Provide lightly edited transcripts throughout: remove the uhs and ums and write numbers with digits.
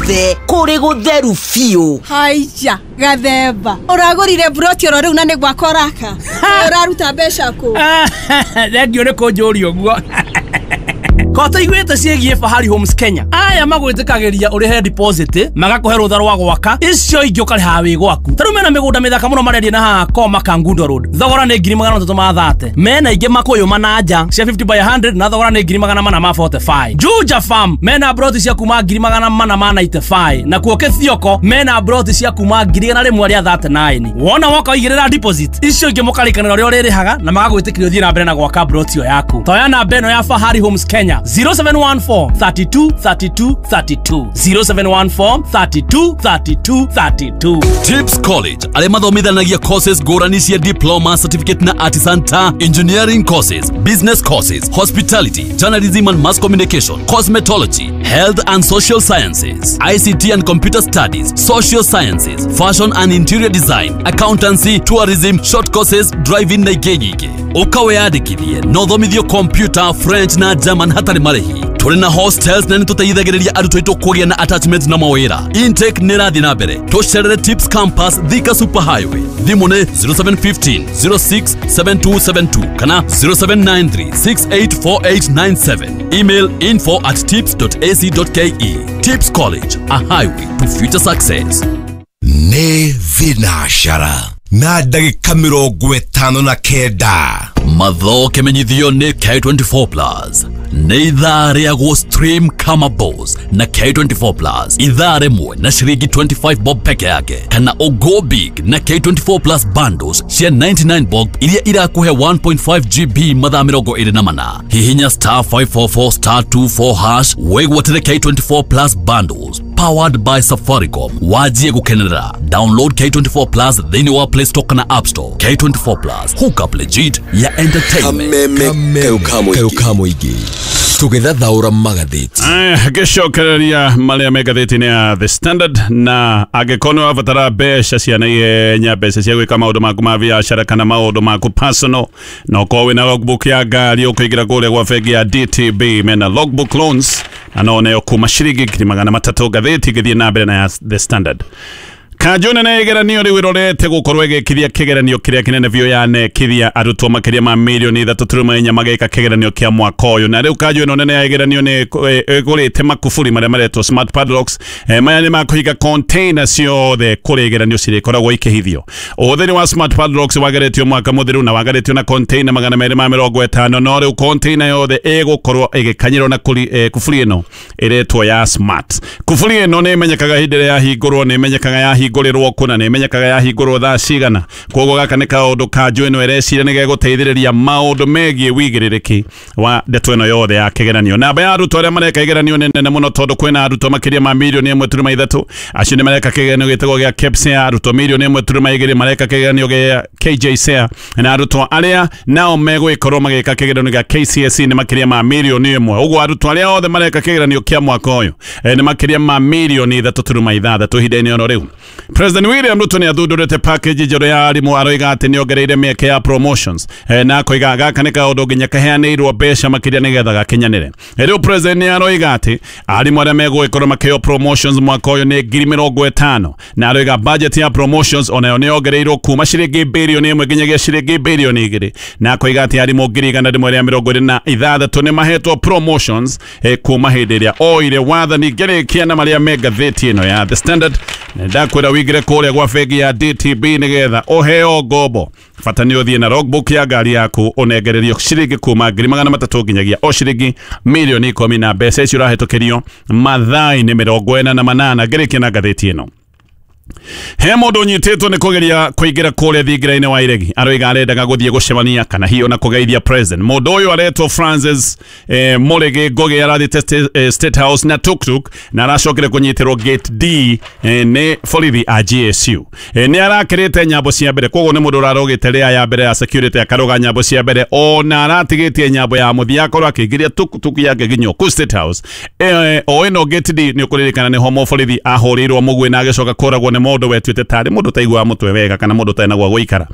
Guothe kũrĩ gũtheru biũ. Haiya, gathemba ũragũrire mburoti oro rĩu na nĩ gwaka ũraka? Ũraruta mbeca kũ? Thengio nĩ kũnjũria ũguo. Ko tũiguĩte ciĩgiĩ Fahari Homes Kenya? Aya magwĩtĩkagĩria ũrĩhe deposit, magakũhe rũtha rwa gwaka, icio ingĩ ũkarĩha wĩ gwaku. Ta rĩu mena mĩgũnda mĩthaka mũno marendia na haha Koma Kangundo Road, thogora nĩ 330,000. Mena ingĩ Makũyũ Mananja cia 50 by 100 na thogora nĩ 445,000. Juja Farm mena broti cia kuma 495,000, na kuo Kĩthioko mena broti cia kuma 139,000. Wona woka ũigĩrĩra deposit, icio ingĩ mũkarĩkanĩra ũrĩa ũrĩrĩhaga na magagwĩtĩkĩria ũthiĩ na mbere na gwaka broti ĩyo yaku. Toya namba ĩno ya Fahari Homes Kenya, 0714 32 32 32, 0714 32 32 32. Tips College arĩa mathomithanagia courses ngũrani cia diploma, certificate na artisan ta engineering courses, business courses, hospitality, journalism and mass communication, cosmetology, health and social sciences, ICT and computer studies, social sciences, fashion and interior design, accountancy, tourism, short courses, driving na ingĩ nyingĩ. Ũka wĩyandĩkithie na ũthomithio computer, French na German hatarĩ marĩhi. Tũrĩ na hostels na nĩtũteithagĩrĩria arutwo aitũ kũgĩa na attachment na mawĩra. Intake nĩ ĩrathiĩ na mbere. Tũcerere Tips Campus, Thika Super Highway. Thimũ nĩ 0715 06 7272 kana 0793 684897. Email info@tips.ac.ke. Tips College, a highway to future success. Nĩ thinacara na ndagĩka 59. Mathoke menyithio nĩ K24 Plus. Nĩ ithaa rĩa gũ stream kama boss na K24 Plus, ithaa rĩmwe na ciringi 25 bob peke yake, kana ũgo big na K24 Plus bundles cia 99 bob iria irakũhe 1.5 GB mathaa 24. Hihinya star 544 star 24 hash wĩgwatĩre K24 Plus bundles powered by Safaricom, wajie gũkenerera. Download K24 Plus thĩinĩ wa Play Store kana App Store. K24 Plus, hook up legit ya entertainment. Kameme kaũ mũingĩ tũgĩthathaũra magathĩti. Ngĩcokereria marĩa me ngathĩti-inĩ ya The Standard, na angĩkorwo nĩ wabatara mbeca cia naihenya, mbeca cia gwĩka maũndũ maku ma biacara kana maũndũ maku personal, na ũkorwo wĩna logbook ya ngari, ũkũingĩra kũrĩa gwa bengi ya DTB, mena logbook loans na no neo kuma ciringi 300,000. Ngathĩti ĩgĩthiĩ na mbere na ya The Standard. Kanjũ nene ya igeranio rĩu ĩrorete gũkorwo ĩgĩkithia kĩgeranio kĩrĩa kĩnene biũ yanekithia arutwo makĩria ma 3.4 milioni magĩka kĩgeranio kĩa mwaka ũyũ. Na rĩu kanjũ ĩno nene ya igeranio nĩ ĩgũrĩte makuburi marĩa maretwo smart padlocks. Maya nĩ makũhinga container ciothe kũrĩa igeranio cirĩkoragwo ikĩhithio. Ũhũthĩri wa smart padlocks wageretio mwaka mũthiru na wageretio na container 250, no rĩu container yothe ĩgũkorwo ĩgĩkanyĩrwo na kuburi ĩno ĩretwo ya smart. Kuburi ĩno nĩ ĩmenyekaga hĩndĩ ĩrĩa yahingũrwo, nĩ ĩmenyekaga yahingũrĩrwo kũna, nĩ ĩmenyekaga yahingũrwo thaa cigana. Koguo gaka nĩ kaũndũ kanjũ ĩno ĩreciria nĩ gegũteithĩrĩria maũndũ megiĩ wĩigĩrĩrĩki wa ndeto ĩno yothe ya kĩgeranio. Namba ya arutwo arĩa mareka igeranio nĩ nene mũno, tondũ kwĩna arutwo makĩria ma 1.3 milioni. Acio nĩ mareka kĩgeranio gĩtagwo gĩa KPSEA, arutwo 1.2 milioni mareka kĩgeranio gĩa KJSEA, na arutwo arĩa nao megũgĩkorwo magĩka kĩgeranio gĩa KCSE nĩ makĩria ma 1 milioni. Ũguo arutwo arĩa othe mareka kĩgeranio kĩa mwaka ũyũ nĩ makĩria ma 3.6 milioni ihinda-inĩ oro rĩu. President William Ruto nĩ athundũrĩte package njerũ ya arimũ, aroiga atĩ nĩ ongereire mĩeke ya promotions, na akoiga gaka nĩ kaũndũ nginya kaheanĩirwo mbeca makĩria nĩgetha gakinyanĩre. Rĩu president nĩ aroiga atĩ arimũ arĩa megũgĩkorwo makĩheo promotions mwaka ũyũ nĩ 50,000, na aroiga budget ya promotions onayo nĩ yongereirwo kuma ciringi 1 birioni nginyagia ciringi 2 birioni, na akoiga atĩ arimũ 126,000 nĩ mahetwo promotions kuma hĩndĩ ĩrĩa oire wathani. Ngĩrĩkia na marĩa me ngathĩti ĩno ya The Standard, na ndakwĩra wĩingĩre kũrĩa gwa bengi ya DTB nĩgetha ũheo ngombo. Bata nĩ ũthiĩ na logbook ya ngari yaku, ũnengererio ciringi kuma 300,000 nginyagia o ciringi 10 milioni, na mbeca icio ũrahĩtũkĩrio mathaa-inĩ 48. Ngĩrĩkia na ngathĩti ĩno, he mũndũ ũnyitĩtwo nĩ kũgeria kũingĩra kũrĩa thingira-inĩ wa Iregi, aroiga arendaga gũthiĩ gũcemania kana hihi ona kũgeithia president. Mũndũ ũyũ aretwo Francis Mũrĩgĩ Ngũgĩ, arathiĩte State House na tuktuk na aracokire kũnyitĩrwo gate D nĩ borithi a GSU. Nĩ arakĩrĩte nyambo cia mbere, koguo nĩ mũndũ ũrarũgĩte rĩa ya mbere ya security, akarũga nyambo cia mbere, ona aratigĩtie nyambo ya mũthia akorwo akĩingĩria tuktuk yake nginya kũ State House. O ĩno gate D nĩ ũkũririkana nĩho mũborithi ahũrĩirwo mũguĩ na agĩcoka kũragwo nĩ mũndũ. mũndũ wetuĩte tarĩ mũndũ taiguaga mũtwe wega kana mũndũ ũtarĩ na gwa gũikara.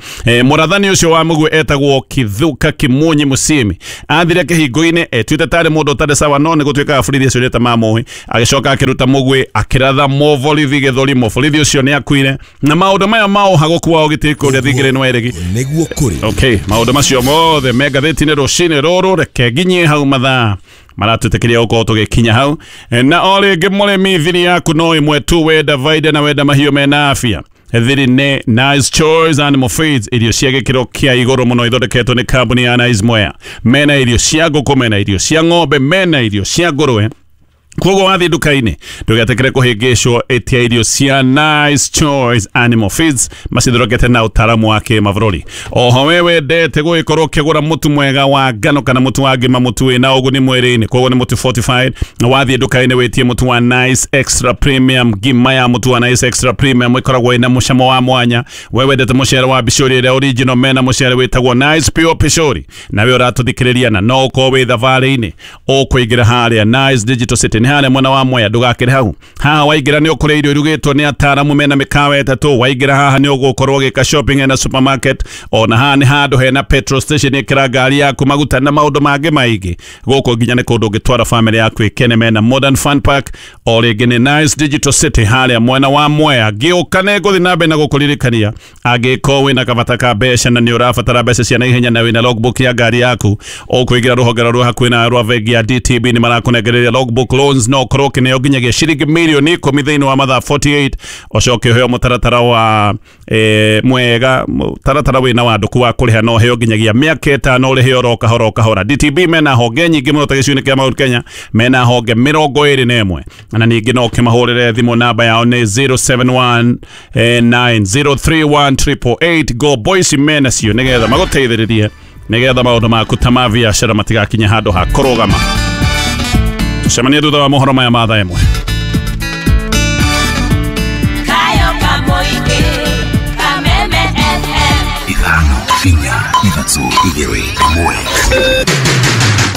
Mũrathani ũcio wa mũguĩ etagwo Kithuka Kimunyi Musimi athire kĩhingo-inĩ etuĩte tarĩ mũndũ ũtarĩ sawa, no nĩ gũtuĩkaga borithi acio nĩ mamũĩ, agĩcoka akĩruta mũguĩ akĩratha mũborithi gĩthũri, mũborithi ũcio nĩ akuire. Na maũndũ maya ma ũhagũku wa ũgitĩri kũrĩa thingira-inĩ wa Eregi nĩguo kũrĩ. Okay, maũndũ macio mothe me ngathĩti-inĩ rũcinĩ rũrũ. Reke nginyie hau mathaa maratwĩtĩkĩria gũkorwo tũgĩkinya hau. Na o rĩngĩ mũrĩmi, thiri yaku no ĩmwe tu, wenda vaida na wenda mahiũ mena afya. Thiri nĩ Nice Choice Animal Feeds, irio cia gĩkĩro kĩa igũrũ mũno ithondeketwo nĩ kambuni ya Nice Mwea. Mena irio cia ngũkũ, mena irio cia ng'ombe, mena irio cia ngũrwe. Koguo wathiĩ nduka-inĩ ndũgetĩkĩre kũhĩngĩcwo, ĩtia irio cia Nice Choice Animal Feeds macithondekete na ũtaaramu wa kĩmabũrũri. Oho we wendete gũgĩkorwo ũkĩgũra mũtu mwega wa ngano kana mũtu wa ngima, mũtu wĩna ũguni mwĩrĩ-inĩ, koguo nĩ mũtu fortified. Wathiĩ nduka-inĩ wĩtie mũtu wa Nice Extra Premium. Ngima ya mũtu wa Nice Extra Premium ĩkoragwo ĩna mũcamo wa mwanya. We wendete mũcere wa bicũri ĩrĩa original, mena mũcere wĩtagwo Nice Pure Pishori. Nawe ũratũthikĩrĩria na no ũkorwo wĩ thabarĩ-inĩ, ũkũingĩra harĩa Nice Digital City nĩ harĩa mwena wa Mwea, ndũgakĩre hau. Haha waingĩra nĩ ũkũrĩa irio irugĩtwo nĩ ataaramu mena mĩkawa ĩtatũ. Waingĩra haha nĩ ũgũkorwo ũgĩka shopping hena supermarket, ona haha nĩ handũ hena petrol station, ĩkĩra ngari yaku maguta na maũndũ mangĩ maingĩ. Gũkũ nginya nĩ kũndũ ũngĩtwara family yaku ĩkene, mena Modern Fun Park. O rĩngĩ nĩ Nice Digital City harĩa mwena wa Mwea. Ngĩũka nĩ ngũthiĩ na mbere na gũkũririkania, angĩkorwo wĩna kabata ka mbeca na nĩ ũrabatara mbeca cia naihenya na wĩna logbook ya ngari yaku, ũkũingĩra rũhonge rwa hakuhĩ na rwa bengi ya DTB, nĩ marakũnengereria logbook loans, no ũkorwo ũkĩneo nginyagia ciringi mirioni 10 thĩinĩ wa mathaa 48, ũcoke ũheo mũtaratara wa mwega, mũtaratara wĩna wandũku wa kũrĩha, no ũheo nginyagia mĩaka 5 ũrĩhe oro kahora o kahora. DTB mena honge nyingĩ mũno ta gĩcigo-inĩ kĩa Mount Kenya, mena honge 21, na ningĩ no ũkĩmahũrĩre thimũ, namba yao nĩ 0719031888. Go Boys mena cio nĩgetha magũteithĩrĩrie nĩgetha maũndũ maku ta ma biacara matigakinye handũ ha kũrũgama. Tucemanie thutha wa mohoro maya ma thaa 1. Kayo Kamoige, Kameme FM. 5 4 3 2 1.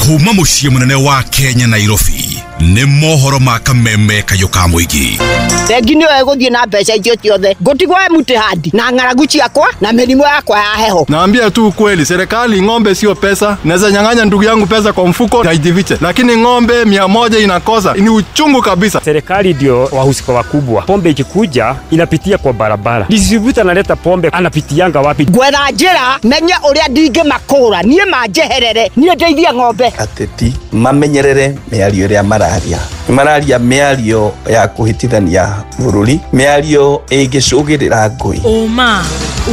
Kuma mũciĩ mũnene wa Kenya Nairobi nĩ mohoro ma Kameme Kayũ ka Mũingĩ. Bengi nĩyo ĩgũthiĩ na mbeca icio ciothe, ngũtigwo empty hand na ng'aragu ciakwa na mĩrimũ yakwa ya heho. Naambia tu ukweli, serikali ng'ombe sio pesa. Naweza nyang'anya ndugu yangu pesa kwa mfuko na ijifiche, lakini ng'ombe 100 inakosa, ni uchungu kabisa. Serikali ndio wahusika wakubwa. Pombe ikikuja inapitia kwa barabara, distributor analeta pombe anapitianga wapi? Ngwetha njĩra menye ũrĩa ndingĩmakũra niĩ manjeherere, niĩ ndeithie ng'ombe. Ateti mamenyerere mĩario ĩrĩa mararia, mararia mĩario ya kũhĩtithania bũrũri, mĩario ĩngĩcũgĩrĩra ngũĩ. Ũma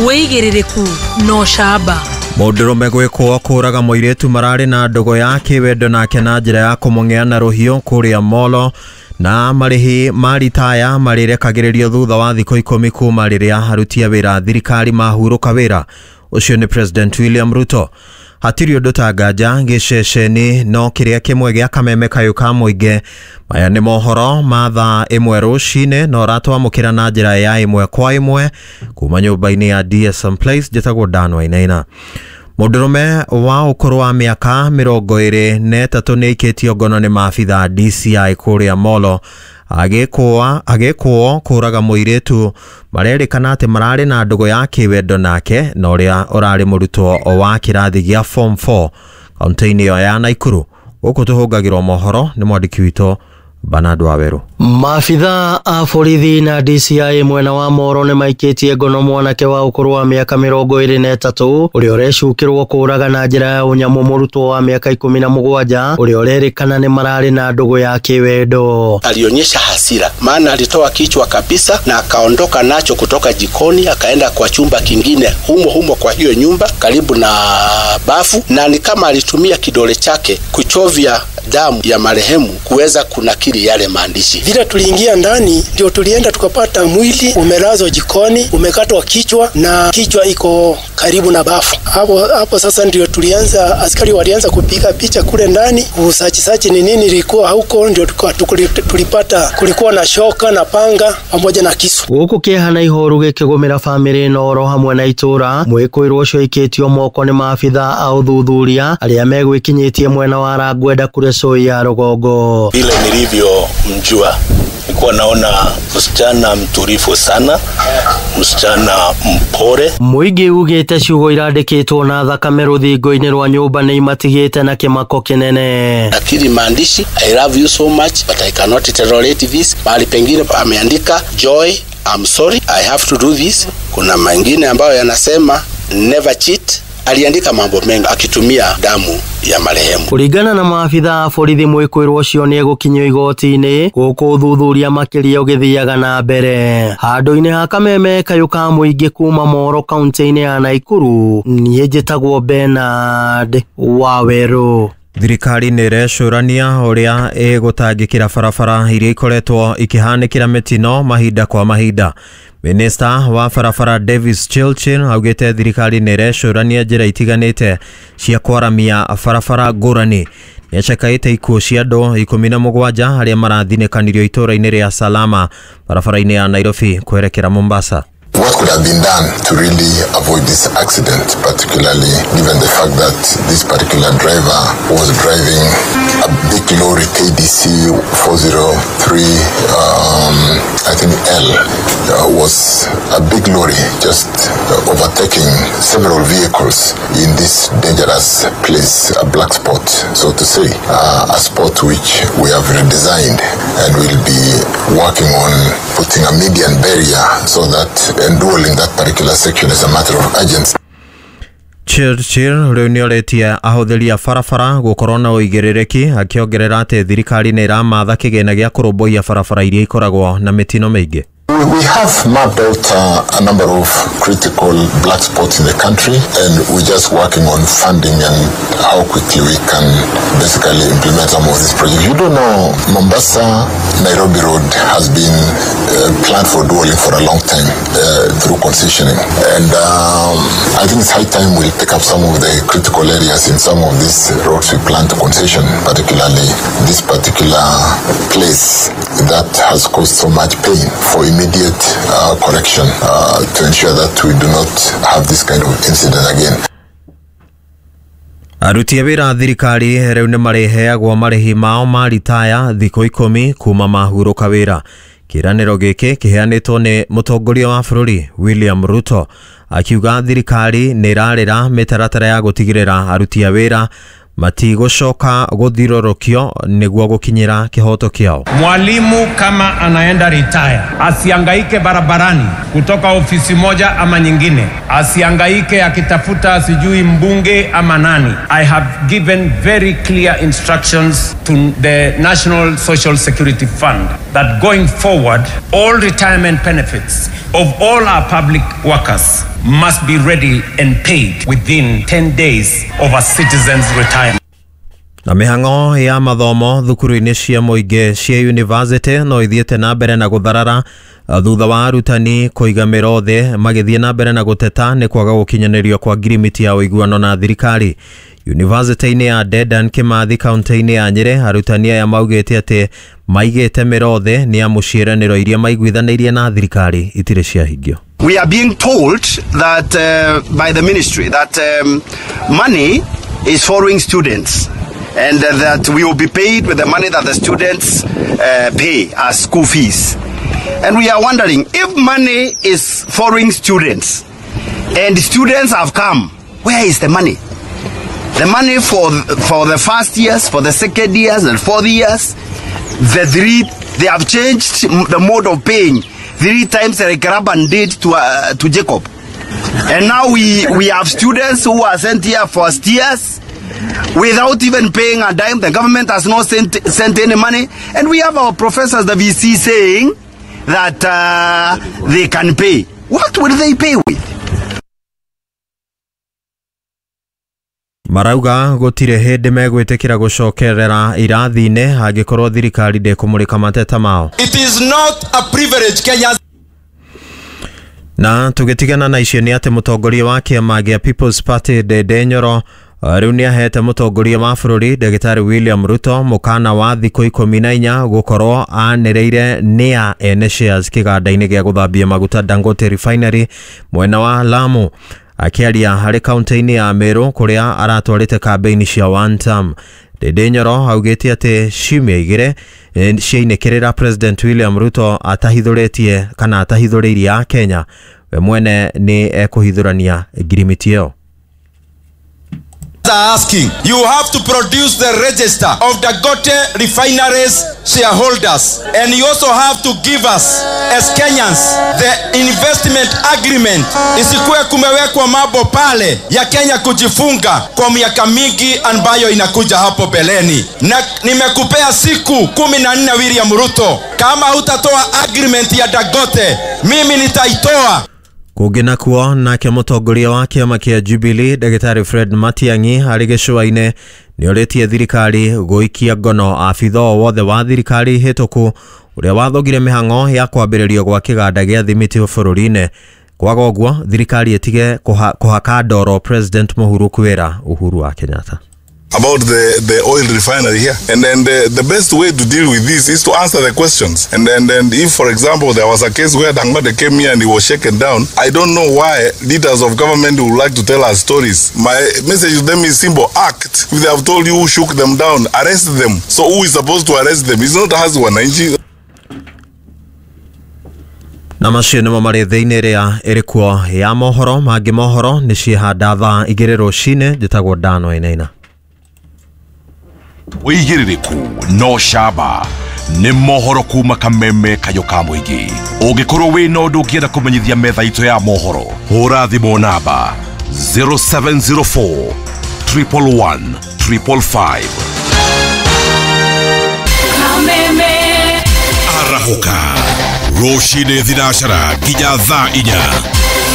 wĩigĩrĩrĩku na ũcamba. Mũndũrũme gwĩkwo kũraga mũirĩtu mararĩ na ndũgũ ya kĩwendo nake na njĩra ya kũmũng'ea na rũhiũ kũrĩa Molo, na marĩhi ma ritaya marĩrekagĩrĩrio thutha wa thikũ 10 kuma rĩrĩa aruti a wĩra thirikari mahurũka wĩra. Ũcio nĩ President William Ruto. Hatirĩ ũndũ ta nganja gĩceceni no kĩrĩa kĩmwe gĩa Kameme Kayũ ka Mũingĩ. Maya nĩ mohoro ma thaa 1 rũcinĩ na ũratwamũkĩra na njĩra ya 1 kwa 1 kuma nyũmba-inĩ ya DSM Place. Njĩtagwo Dan Wainaina. Mũndũrũme wa ũkũrũ wa mĩaka 23 nĩ aikĩtio ngono nĩ maabitha DCI kũrĩa Molo agĩkũo kũraga mũirĩtu marerĩkana atĩ mararĩ na ndũgũ ya kĩwendo nake na ũrĩa ũrarĩ mũrutwo wa kĩrathi gĩa form 4 kaunti-inĩ ĩyo ya Naikuru. Gũkũ tũhũngagĩrwo mohoro nĩ mwandĩki witũ Bernard Waweru. Maabitha a borithi na DCI mwena wa Moro nĩ maikĩtie ngono mwanake wa ũkũrũ wa mĩaka 23 ũrĩa ũrecukĩrwo kũraga na njĩra ya ũnyamũ mũrutwo wa mĩaka 17 ũrĩa ũrerĩkana nĩ mararĩ na ndũgũ ya kĩwendo. Alionyesha hasira, maana alitoa kichwa kabisa na akaondoka nacho kutoka jikoni akaenda kwa chumba kingine humo humo kwa hiyo nyumba karibu na bafu, na ni kama alitumia kidole chake kuchovya damu ya marehemu kuweza kunakili yale maandishi. Vile tuliingia ndani ndio tulienda tukapata mwili umelazwa jikoni, umekatwa kichwa na kichwa iko karibu na bafu. Hapo sasa ndio tulianza, askari walianza kupiga picha kule ndani, kusachi ni nini ilikuwa huko, ndio tulipata kulikuwa na shoka na panga pamoja na kisu. Guku kieha na ihoru gikigumira family na oro hamwe na itura mwikuirwo ucio ikitio moko ni maabitha a uthuthuria aria megwikinyitie mwena wa Rangwenda kure Soi ya Rugongo. Vile nilivyomjua Nilikuwa naona msichana mtulivu sana, msichana mpore. Mũingĩ ugĩte ciugo irandĩkĩtwo na thakame rũthingo-inĩ rwa nyũmba nĩ imatigĩte na kĩmako kĩnene. Lakini maandishi I love you so much but I cannot tolerate this. Mahali pengine ameandika Joy, I'm sorry, I have to do this. Kuna mengine ambayo yanasema never cheat. Aliandika mambo mengi akitumia damu ya marehemu. Kũringana na maabitha a borithi mwĩkũĩrwo ũcio nĩ egũkinyio igoti-inĩ gũkũ ũthuthuria makĩria ũgĩthiaga na mbere. Handũ-inĩ ha kameme kayũ ka mũingĩ kuma Moro kaunti-inĩ ya Naikuru, niĩ njĩtagwo Bernard Wawerũ. Thirikari nĩ ĩrecũrania ũrĩa ĩgũtangĩkĩra barabara iria ikoretwo ikĩhanĩkĩra mĩtino mahinda kwa mahinda. Minista wa barabara Davis Chilchin augĩte thirikari nĩ ĩrecũrania njĩra itiganĩte cia kwaramia barabara ngũrani. Nĩacakaĩte ikuũ cia andũ 17 arĩa marathinĩkanirio itũũra-inĩ rĩa Salama barabara-inĩ ya Nairobi kwerekera Mombasa. What could have been done to really avoid this accident, particularly given the fact that this particular driver was driving a big lorry KDC 403, I think L, was a big lorry just overtaking several vehicles in this dangerous place, a black spot, so to say, a spot which we have redesigned and will be working on putting a median barrier so that enduring that particular section is a matter of urgency. Churchill rĩu nĩorĩtie ahũthĩri a barabara gũkorwo na ũigĩrĩrĩki akĩongerera atĩ thirikari nĩ ĩramatha kĩgĩna gĩa kũrũmbũiya barabara iria ikoragwo na mĩtino mĩingĩ. We have mapped out a number of critical black spots in the country, and we're just working on funding and how quickly we can basically implement some of these projects. You don't know, Mombasa Nairobi Road has been planned for dualling for a long time through concessioning, and I think it's high time we pick up some of the critical areas in some of these roads we plan to concession, particularly this particular place that has caused so much pain, for immediate correction to ensure that we do not have this kind of incident again. Aruti a wĩra a thirikari rĩu nĩ marĩheagwo marĩhi mao ma ritaya thikũ 10 kuma mahurũka wĩra. Kĩĩranĩro gĩkĩ kĩheanĩtwo nĩ mũtongoria wa bũrũri William Ruto akiuga thirikari nĩ ĩrarĩra mĩtaratara ya gũtigĩrĩra aruti a wĩra matigũcoka gũthirũrũkio nĩguo gũkinyĩra kĩhoto kĩao. Mwalimu kama anaenda retire asiangaike barabarani kutoka ofisi moja ama nyingine, asiangaike akitafuta sijui mbunge ama nani. I have given very clear instructions to the National Social Security Fund that going forward all retirement benefits of all our public workers must be ready and paid within 10 days of a citizen's retirement. Na mĩhang'o ya mathomo thukuru-inĩ cia mũingĩ cia university no ithiĩte na mbere na gũtharara thutha wa arutani kũiga mĩro thĩ magĩthiĩ na mbere na gũteta nĩ kwaga gũkinyanĩrio kwa ngirimiti ya ũiguano na thirikari. University-inĩ ya Dedan Kimathi kaunti-inĩ ya Nyĩrĩ arutani aya maugĩte atĩ maigĩte mĩro thĩ nĩ amu ciĩranĩro iria maiguithanĩirie na thirikari itirĩ ciahingio. We are being told that by the ministry that money is following students and that we will be paid with the money that the students pay as school fees. And we are wondering, if money is following students and students have come, where is the money? The money for the first years, for the second years and fourth years, they have changed the mode of paying 3 times like Laban did to Jacob. And now we have students who are sent here first years without even paying a dime. The government has not sent any money. And we have our professors, the VC, saying that they can pay. What will they pay with? Marauga gũtirĩ hĩndĩ megwĩtĩkĩra gũcokerera irathi-inĩ angĩkorwo thirikari ndĩkũmũrĩka mateta mao. It is not a privilege Kenyans. Na tũgĩtigana na icio nĩ atĩ mũtongoria wa kĩama gĩa People's Party Ndindi Nyoro rĩu nĩahete mũtongoria wa bũrũri Ndagĩtarĩ William Ruto mũkana wa thikũ 14 gũkorwo anĩrĩire nĩa ene shares kĩganda-inĩ gĩa gũthambia maguta Dangote Refinery mwena wa Lamu. Akĩaria harĩ kaunti-inĩ ya Meru kũrĩa aratwarĩte kambĩini cia one term, Ndindi Nyoro augĩte atĩ ciumia 2 ciainĩkĩrĩra President William Ruto atahithũrĩtie kana atahithũrĩirie a Kenya, we mwene nĩ ekũhithũrania ngirimiti ĩyo. Are asking, you have to produce the register of Dangote Refineries shareholders, and you also have to give us as Kenyans the investment agreement. Isikuwe kumewekwa mambo pale ya Kenya kujifunga kwa miaka mingi ambayo inakuja hapo beleni. Na nimekupea siku 14 William Ruto, kama hutatoa agreement ya Dangote, mimi nitaitoa. Kũngĩ nakuo nake mũtongoria wa kĩama kĩa Jubilee Ndagĩtarĩ Fred Matiang'i arĩ gĩcũa-inĩ nĩorĩtie thirikari gũikia ngono abitha o wothe wa thirikari hĩtũku ũrĩa wathogire mĩhang'o ya kwambĩrĩrio gwa kĩganda gĩa thimiti bũrũri-inĩ. Kwaga ũguo thirikari ĩtige kũhaka ndoro President Mũhuru kwĩra Uhuru wa Kenyatta. About the oil refinery here. And then the best way to deal with this is to answer the questions. And then if, for example, there was a case where Dangote came here and he was shaken down, I don't know why leaders of government would like to tell us stories. My message to them is simple: act. If they have told you who shook them down, arrest them. So who is supposed to arrest them? It's not us, wananchi. Na macio nĩmo marĩ thĩinĩ ĩrĩa ĩrĩ kuo ya mohoro. Mangĩ mohoro nĩ ciĩhanda thaa 2 rũcinĩ. Njĩtagwo Dan Wainaina. Wĩigĩrĩrĩku no camba nĩ mohoro kuma kameme kayo ka mũingĩ. Ũngĩkorwo wĩna ũndũ ũngĩenda kũmenyithia metha itũ ya mohoro, hũra thimũ namba 0704 111 555. Kameme. Arahũka rũcinĩ thinacara nginya thaa 4.